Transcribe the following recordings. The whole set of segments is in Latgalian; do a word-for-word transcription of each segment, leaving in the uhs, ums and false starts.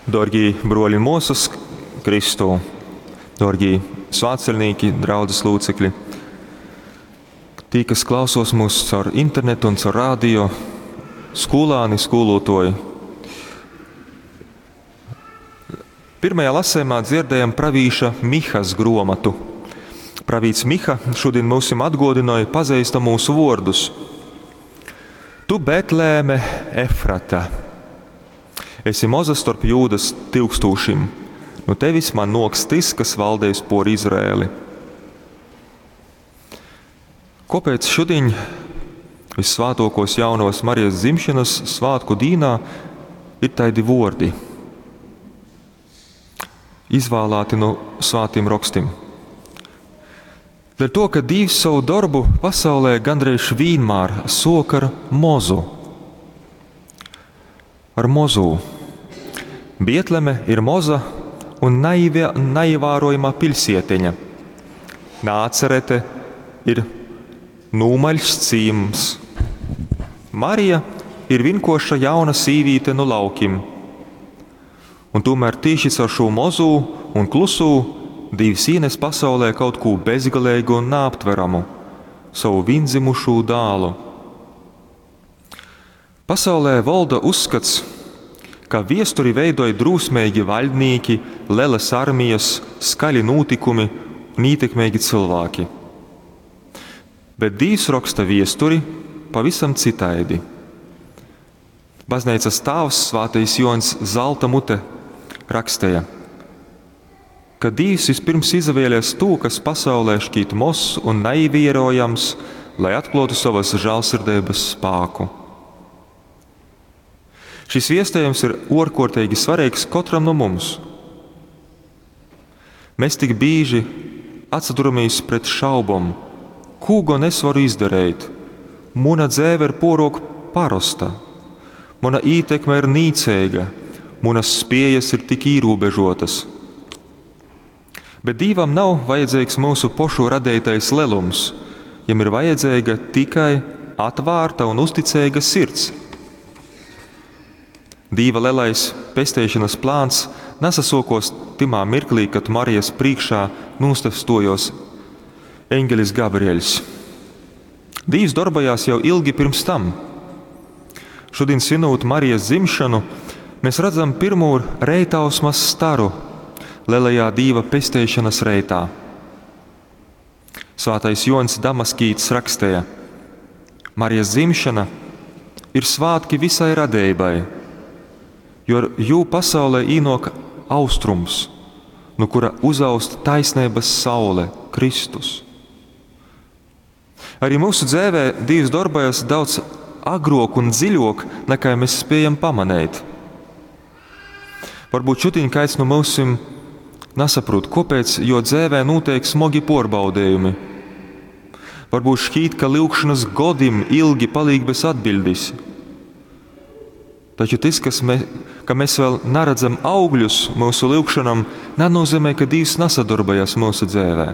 Dārgie broļi un māsas Kristū, dārgie svētceļnieki, draudzes locekļi, tī, kas klausos mūs caur internetu un caur radio, skolāni, skolotoji. Pirmajā lasējumā dzirdējam pravīša Mihas gromatu. Pravīts Miha šodien mūsim atgodināja pazīstamos vārdus. Tu, Betlēme, Efrata, esi moza starp Jūdas tilkstūšim, no tevis man noks tis, kas valdēs por Izraēli. Kāpēc šodien vissvētākos jaunos Marijas dzimšanas svētku dīnā ir taidi vordi, izvēlēti no svētiem rakstim? Dēļ to, ka Dievs savu darbu pasaulē gandrīz vienmēr sok ar mozu. Ar mozu. Bietleme ir moza un naivia, naivārojama pilsietiņa. Nācerete ir nūmaļs cīms. Marija ir vinkoša jauna sīvīte no laukim. Un tomēr tieši caur šo mozu un klusū Dievs ienes pasaulē kaut ko bezgalīgu un neaptveramu – savu viendzimušo dālu. Pasaulē valda uzskats, ka viesturi veidoja drūsmīgi vaļdnieki, lielas armijas, skaļi notikumi un ietekmīgi cilvēki. Bet Dievs raksta viesturi pavisam citaidi. Baznīcas tēvs Svētais Joņs Zelta mute rakstīja, ka Dievs vispirms izvēlēs to, kas pasaulē šķiet mozs un naivierojams, lai atklātu savas žēlsirdības spēku. Šis viestējums ir ārkārtīgi svarīgs katram no mums. Mēs tik bieži atsaduramies pret šaubom, ko gan es varu izdarīt. Mana dzēve ir porok parosta, mana ietekme ir nīcīga, manas spējas ir tik ierobežotas. Bet Dievam nav vajadzīgs mūsu pošu radītais lelums, jam ir vajadzīga tikai atvērta un uzticīga sirds. Dieva lielais pesteišanas plāns nesasokos timā mirklī, kad Marijas priekšā nostastojos eņģelis Gabrieļs. Dievs darbojās jau ilgi pirms tam. Šodien svinot Marijas dzimšanu, mēs redzam pirmo reitausmas staru lielajā Dieva pesteišanas reitā. Svētais Jons Damaskīts rakstīja: Marijas dzimšana ir svētki visai radībai, jo ar jū pasaulē īnok austrums, no kura uzaust taisnības saule, Kristus. Arī mūsu dzīvē Dievs darbojas daudz agrāk un dziļāk, nekā mēs spējam pamanīt. Varbūt šodien kāds no mūsim nesaprot, kāpēc, jo dzīvē notiek smagi porbaudījumi. Varbūt šķiet, ka lūgšanas godim ilgi paliek bez atbildes. Taču tas, kas me, ka mēs vēl neredzam augļus mūsu lūgšanam, nenozīmē, ka Dievs nesadarbojas mūsu dzīvē.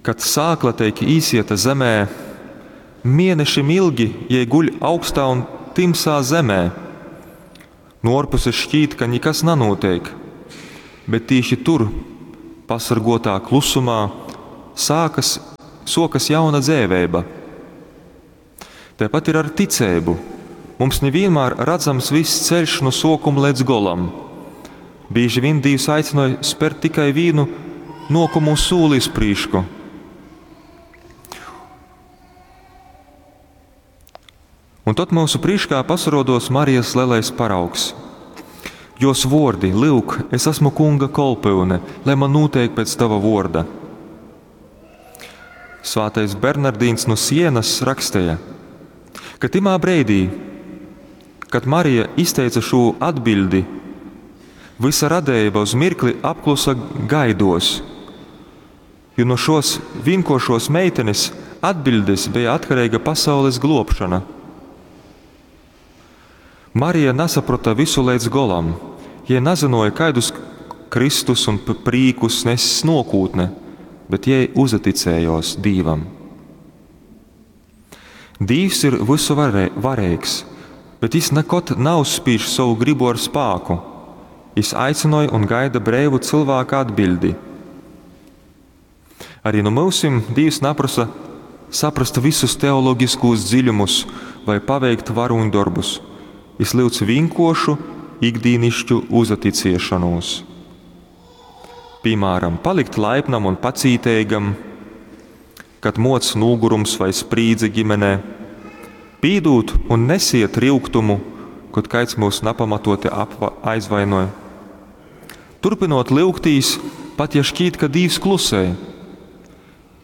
Kad sākla tiek īsieta zemē, mēnešim ilgi, ja guļ augstā un timsā zemē, no ārpuses šķiet, ka nekas nenotiek, bet tieši tur, pasargotā klusumā, sākas, sokas jauna dzēvēba. Tāpat ir ar ticību. Mums nevienmēr redzams viss ceļš no sokuma līdz golam. Bieži vien Dievs aicināja spērt tikai vienu nokumu sūli uz prīšku. Un tad mūsu priekšā pasarodos Marijas lielais paraugs. Jos vordi, lūk, es esmu kunga kolpyune, lai man notiek pēc tava vorda. Svētais Bernardīns no Sienas rakstīja, ka timā breidī, kad Marija izteica šo atbildi, visa radība uz mirkli apklusa gaidos, jo no šos vienkošos meitenes atbildes bija atkarīga pasaules globšana. Marija nesaprata visu līdz golam, ja nezināja, kādus Kristus un prīkus nes nokūtne, bet jai uzticējos Dievam. Dievs ir visu varē, varīgs, bet jis nekod nauzspīž sovu grybu ar spāku. Jis aicynoj un gaida breivu cylvāka atbiļdi. Arī nu myusim Dīvs naprosa saprast vysus teologiskūs dziļumus vai paveikt varūņdorbus. Jis lyudz vīnkuoršu, ikdīnišķu uzaticiešonūs. Pīmāram, palikt laipnam un pacīteigam, kad muoc nūgurums vai sprīdze ģimenē, pīdūt un nesiet ryugtumu, kod kaids myus napamatoti apva aizvainoj. Turpinot lyugtīs, pat ja šķīt, ka Dīvs klusē.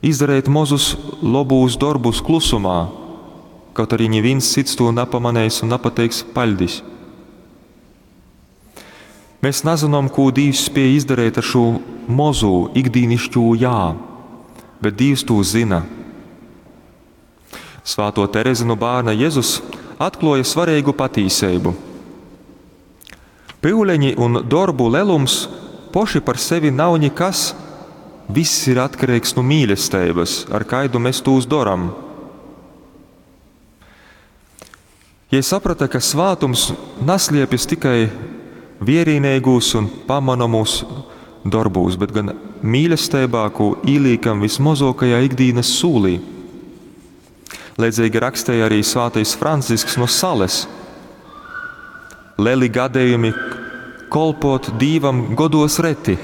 Izdareit mozus lobūs dorbus klusumā, kaut arī nivīns cits tū napamaneis un napateiks paļdis. Mēs nazynom, kū Dīvs spiej izdareit ar šū mozū ikdīnišķū jā, bet Dīvs tū zyna. Svāto Terezi nu bārna Jezus atkluoja svarīgu patīseibu. Pyuleņi un dorbu lelums poši par sevi nav nikas, viss ir atkarīgs nu mīlesteibys, ar kaidu mēs tūs doram. Jei saprata, ka svātums nasliepjas tikai vierīneigūs un pamanomūs dorbūs, bet gan mīlesteibā, kū īlīkam vismozokajā ikdīnas sūlī. Leidzīgi rakstēja arī svātais Francisks no Sales. Leli gadījumi kolpot Dīvam godos reti,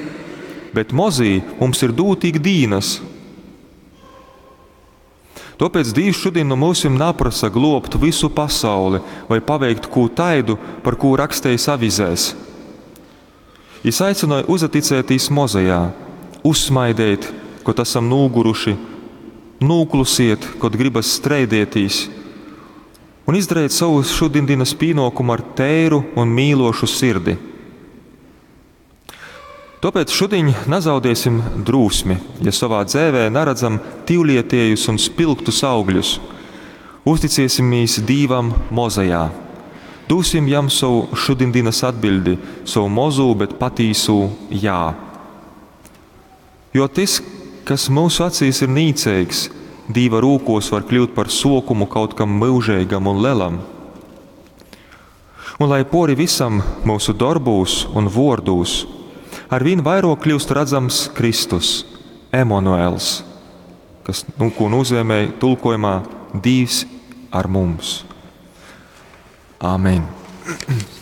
bet mozī mums ir dūti ikdīnas. Tāpēc Dīvs šodien no mūsim naprasa globt visu pasauli vai paveikt kū taidu, par kū rakstējis avizēs. Jis aicināja uzaticētīs mozajā, uzsmaidēt, kod esam nūguruši, nūklusiet, kod gribas streidētīs, un izdarīt savu šodienas pienākumu ar tēru un mīlošu sirdi. Tāpēc šodien nezaudēsim drūsmi, ja savā dzēvē naredzam tīvlietiejus un spilgtus augļus. Uzticēsimies Dīvam mozajā. Dūsim jam savu šodienas atbildi, savu mozū, bet patīsū jā. Jo tas, kas mūsu acīs ir nīceigs, Dīva rūkos var kļūt par sokumu kaut kam mūžīgam un lelam. Un lai pori visam mūsu darbūs un vordūs, arvien vairāk kļūst redzams Kristus, Emanuels, kas, nu, ko nozīmē tulkojumā Dīvs ar mums. Āmen!